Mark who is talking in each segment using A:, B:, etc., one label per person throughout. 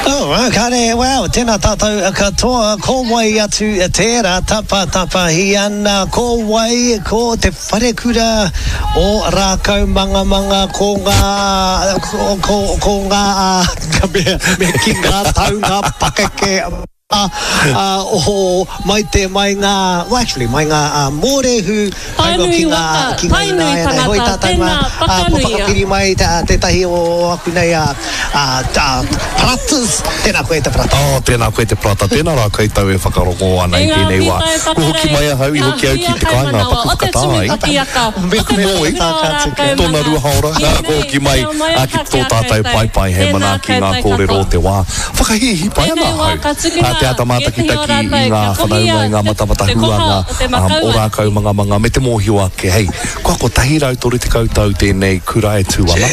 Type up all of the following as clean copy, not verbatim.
A: Oh, kare, well, tēnā tātou katoa, ko wai atu tērā tapatapahi ana, ko wai, ko te wharekura o Rākaumangamanga, ko ngā, ko, ko, ko ngā, me, me ki ngā tau, ngā pakeke, ā, ā, oho, mai te, mai ngā, well, actually, mai ngā, ā, mōrehu, tae noa ki
B: Tainui
A: ngā,
B: waka,
A: ki ngā
B: Tainui
A: ināianei. Hoi
B: tangata,
A: tātou mā,
B: tēnā,
A: ā, kua
B: whakanuia.
A: whakapiri mai te, ā, tētahi o aku nei, ā, ā, ā, paratas. Tēnā koe e te parata.
C: Oh, tēnā koe te parata. Tēnā rā koutou e whakarongo ana
B: E
C: i
B: ngā
C: tēnei wā.
B: pītai
C: Kua hoki
B: whakarei,
C: mai ahau, i
B: ngā
C: hoki au ki
B: huia
C: te kāinga,
B: kaimanawa
C: paku
B: o te
C: whakatā
B: tumu
C: ai.
B: pakiaka,
A: Me
B: o te
A: me
C: Moe,
B: wharekura o
C: tōna
B: Rākaumanga,
C: rua haora,
B: i
C: ā, kua
B: nei,
C: hoki mai,
B: reo mai
C: ā, ki
B: aha
C: tō
B: ki a
C: tātou
B: koutou,
C: paepae hei
B: tēnā
C: manaaki ngā
B: koutou
C: kōrero o
B: katoa.
C: te wā. Whakahīhī pai ana
B: Tēnei wā
C: ahau.
B: ka
C: Ā,
B: tukuna
C: te āta
B: ētehi o
C: mātakitaki i
B: rātou
C: ngā
B: kia
C: whanaunga,
B: kohia
C: i ngā
B: te
C: matamata
B: te koha
C: huanga,
B: o te
C: ā,
B: makau
C: o
B: ariki.
C: Rākaumangamanga me te mōhio ake, hei, kua 130 tau tēnei kura e tū ana.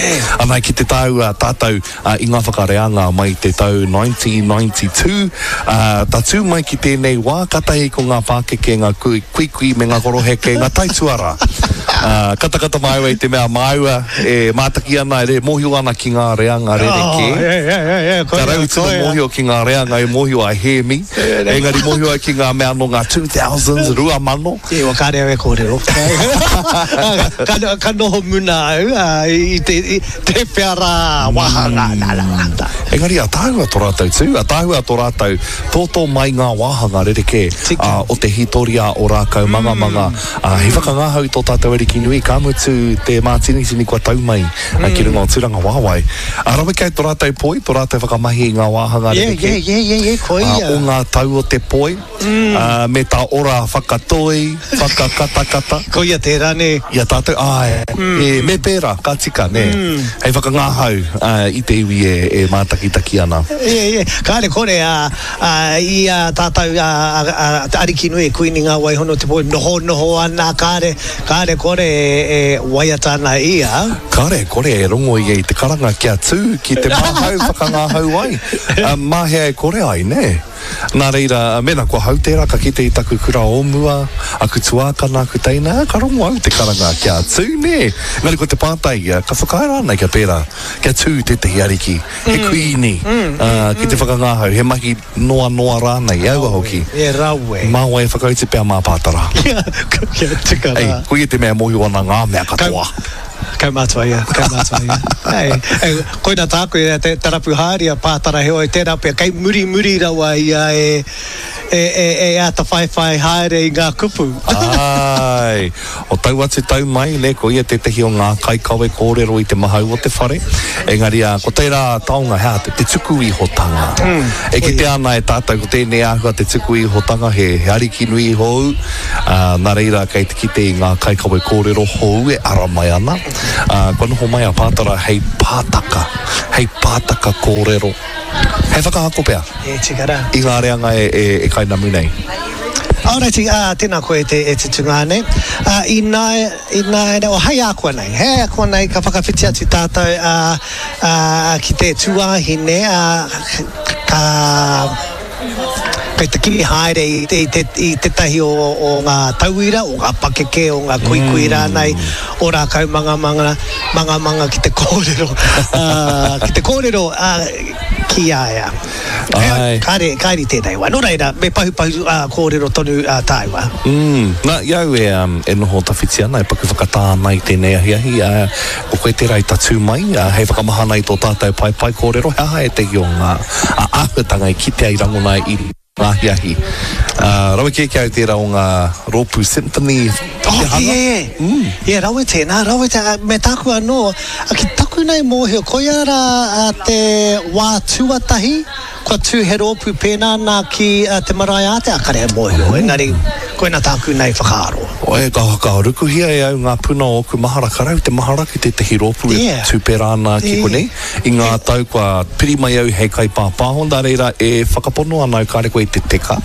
C: Ana, ki te tāua tātou, ā, i ngā whakareanga mai te tau 1992, ā, tatū mai ki tēnei wā, kātahi ko ngā pākeke, ngā kui, kuikui me ngā koroheke, ngā taituarā. Ā, katakata māua i te mea māua e mātaki ana, e mōhio ana ki ngā reanga rerekē.
A: Oh, yeah, yeah, yeah, yeah,
C: Ka
A: koia,
C: rau tino
A: koia.
C: mōhio ki ngā reanga e mōhio a Hēmi, engari mōhio ai ki ngā mea nō ngā 2000s, 2000.
A: E, wa kāre au e kōrero. Ka, ka noho muna au ā, i te, i te whea rā wāhanga, nā, nā, nā, nā.
C: Engari ataahua to rātou tū, ataahua to rātou tōtō mai ngā wāhanga rerekē
A: Tika.
C: o te hītoria o Rākaumangamanga. Ā, he whakangahau tō tātou Ariki nui, ka mutu te mātinitini kua tau mai ki runga o Tūrangawaewae. Ā, rawe kei to rātou poi, to rātou whakamahi i ngā wāhanga
A: Yeah,
C: rerekē
A: yeah, yeah, yeah, yeah, koia.
C: o ngā tau o te poi, ā, me tā ora whakatoi, whakakatakata.
A: Koia tērā, nē.
C: I a tātou, āe, e, me pērā, ka tika, nē. Hei whakangahau i te iwi e mātakitaki ana.
A: Yeah, yeah. Kāre kore, ā, ā, i a tātou, ā, ā, ā, te Arikinui, Kuini Ngā Waihono te Pō, nohonoho ana, kāre, kāre kore e, e waiata ana ia.
C: Kāre kore e rongo ia i te karanga kia tū ki te māhau whakangahau ai. Ā, mā hea e kore ai, nē? Nā reira, mēnā kua hau tērā, ka kite i taku kura o mua, aku tuākana, aku teina, ka rongo au te karanga kia tū, nē? Engari ko te pātai ia, ka whakaae rānei kia pērā, kia tū tētahi ariki, he kuīni, ā, ki te whakangahau, he mahi noa noa rānei, e aua hoki.
A: E rawe.
C: Mā wai e whakautu pea mā Pātara.
A: Kia tika rā.
C: Ei, koia te mea e mōhio ana ngā mea katoa.
A: Kaumātua ia, kaumātua ia. Ei, ei, koina tāku e te, te rapu haere a Pātara heoi tērā pea kei murimuri rawa ia e, e, e, e āta whaiwhai haere i ngā kupu.
C: Āe, o tau atu tau mai, nē, ko ia tētahi o ngā kaikawe kōrero i te mahau o te whare. Engari, ā, ko tērā taonga, he aha, te, te tuku ihotanga. E kitea ana e tātou ko tēnei āhua te tuku ihotanga, he, he ariki nui hou, ā, nā reira kei te kite i ngā kaikawe kōrero hou e ara mai ana, ā, kua noho mai a Pātara hei pātaka, hei pātaka kōrero, hei whakaako pea.
A: E tika rā.
C: I ngā reanga e, e, e kainamu nei.
A: Alrighty, ā, tēnā koe e te, e te tungāne. Ā, ināia, ināianei, oh, hei ākuanei, hei ākuanei ka whakawhiti atu tātou, ā, ā, ki te tūāhine, ā, ka, kei te kimi haere i te, i te, i tētahi o, o ngā tauira, o ngā pakeke, o ngā kuikui rānei, o Rākaumangamanga, mangamanga ki te kōrero, ā, ki te kōrero, ā, ki a ia.
C: Āe.
A: Kāre, kāre i tēnei wā. Nō reira, me pahupahu ā, kōrero tonu ā, tāua.
C: Mm. Nā, i au e, um, e noho tawhiti ana, e paku whakatā ana i tēnei ahiahi, ā, ko koe tērā i tatū mai, ā, hei whakamahana i tō tātou paepae kōrero, he aha ētahi o ngā ā, āhuatanga i kitea i rangona i ngā ahiahi. Ā, rawe kē ki au tērā o ngā rōpū symphony
A: Oh,
C: te hanga.
A: yeah, yeah.
C: Mm.
A: Yeah, rawe tēnā, rawe tēnā. Me tāku anō, ki taku nei mōhio, koia rā te wā tuatahi kua tū he rōpū pēnā nā ki te marae ātea, kare e mōhio, engari koina tāku nei whakaaro.
C: Oi, ka, ka rukuhia e au ngā puna o ōku mahara, ka rau te mahara ki tētahi rōpū e
A: Yeah.
C: tū pērā ana ki
A: Yeah.
C: konei. I ngā tau kua piri mai au hei kaipāpāho, nā reira e whakapono ana au kāre koe i te teka,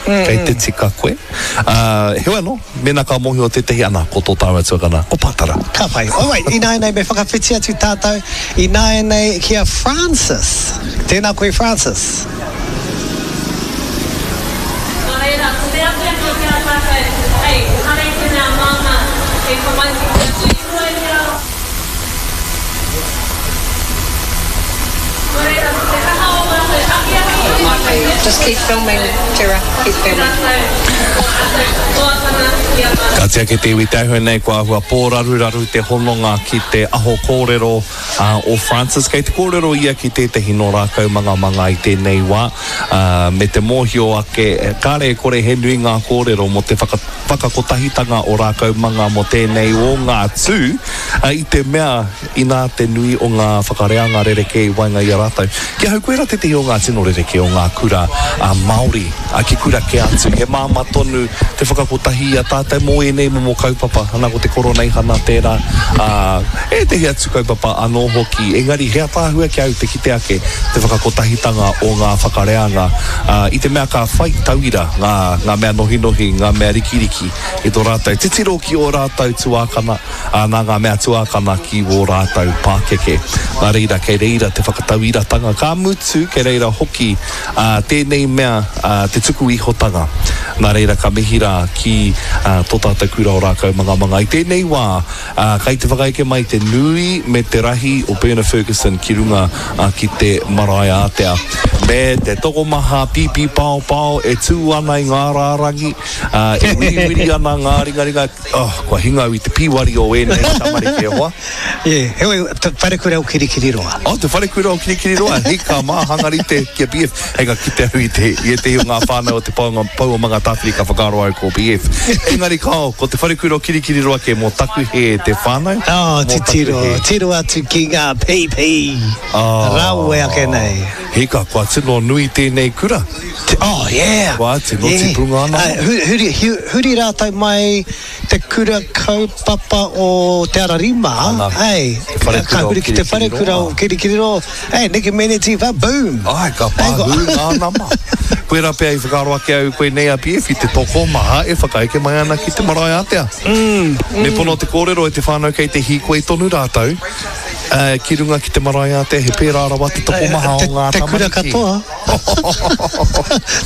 C: kei te tika koe. Ā, heoi anō, mēnā ka mōhio tētahi, ana, ko tō tāua tuakana, ko Pātara.
A: Ka pai. Alright, ināianei me whakawhiti atu tātou ināianei ki a Francis. Tēnā koe Francis.
B: Nō reira, ko te akiaki ki a tātou, hei, ehara i te mea māmā te tamaiti kia tuihono i te ao. Nō reira, ko te kaha o mātou.
D: Lovely. Just keep filming, Tera, keep filming.
C: Ka tiaki te iwi te āhua nei kua āhua pōraruraru te hononga ki te aho kōrero o Francis. Kei te kōrero ia ki tētehi nō Rākaumangamanga i tēnei wā, me te mōhio ake, kāre e kore he nui ngā kōrero mō te whakakotahitanga o Rākaumanga mō tēnei o ngā tū, i te mea inā te nui o ngā whakareanga rerekē i waenga i a rātou. Ki ahau koirā tētehi o ngā tino rerekē o ngā kura Māori ki kura kē atu. He māmā tonu te whakakotahi i a tātou mō ēnei momo kaupapa, ana ko te Koroneihana tērā, ā, ētehi atu kaupapa anō hoki. Engari he ataahua ki a au te kite ake te whakakotahitanga o ngā whakareanga, ā, i te mea ka whai tauira ngā, ngā mea nohinohi, ngā mea rikiriki i tō rātou titiro ki ō rātou tuākana, ā, nā ngā mea tuākana ki wō rātou pākeke. Nā reira, kei reira te whakatauiratanga, ka mutu, kei reira hoki, ā, tēnei mea, ā, te tuku ihotanga. Nā reira, ka mihi rā ki, ā, tō tātou kura o Rākaumangamanga. I tēnei wā, ā, kei te whakaeke mai te nui me te rahi o Berna Ferguson ki runga, ā, ki te marae ātea. Me te tokomaha pīpī paopao e tū ana i ngā rārangi, ā, e wiriwiri ana ngā ringaringa, Oh, kua hinga au i te pīwari o ēnei tamariki e hoa.
A: Yeah, heoi, te wharekura o Kirikiriroa.
C: Oh, te wharekura o Kirikiriroa, hika mā, hanga rite ki a BF. Hei ka kite au i te, i ētehi o ngā whānau o te Pouanga, Pou o Mangatāwhiri ka whakaaro au ko BF. Engari kāo, ko te wharekura o Kirikiriroa kē mō taku hē te whānau,
A: Oh,
C: mō taku
A: titiro,
C: hē.
A: tiro atu ki ngā pīpī
C: Oh.
A: rawe ake nei.
C: Hika, kua tino nui tēnei kura.
A: Oh yeah!
C: Kua tino
A: Yeah.
C: tipu ngā nama.
A: Huri, huri, huri rātou mai te kura kaupapa o Te Ara Rima,
C: Ana,
A: hey,
C: te wharekura
A: ka
C: o
A: huri ki te wharekura o Kirikiriroa, hey, neke meneti wha, boom!
C: Ai, ka pāhū ngā nama. Koirā pea i whakaaro ake au koinei a BF i te tokomaha e whakaeke mai ana ki te marae ātea. Me pono te kōrero e te whānau kei te hīkoi tonu rātou. Ā, ki runga ki te marae ātea, he pērā rawa te tokomaha o ngā tamariki.
A: Te kura katoa.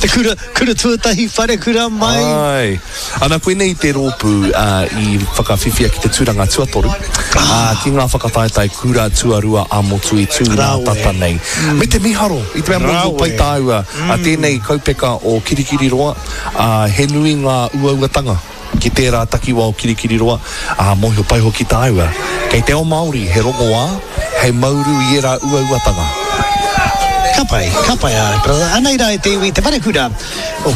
A: Te kura, kura tuatahi, wharekura mai.
C: Āe. Ana, koinei te rōpū i whakawhiwhia ki te tūranga tuatoru, ā, ki ngā whakataetae kura tuarua ā-motu i tū nā tata nei. Me te miharo, i te mea mōhio pai tāua, tēnei kaupeka o Kirikiriroa, ā, he nui ngā uauatanga. Ki tērā takiwā o Kirikiriroa, ā, mōhio pai hoki tāua, kei te ao Māori he rongoā hei mauru i ērā uauatanga.
A: Ka pai, ka pai, āe, brother. Anei rā e te iwi, te wharekura o.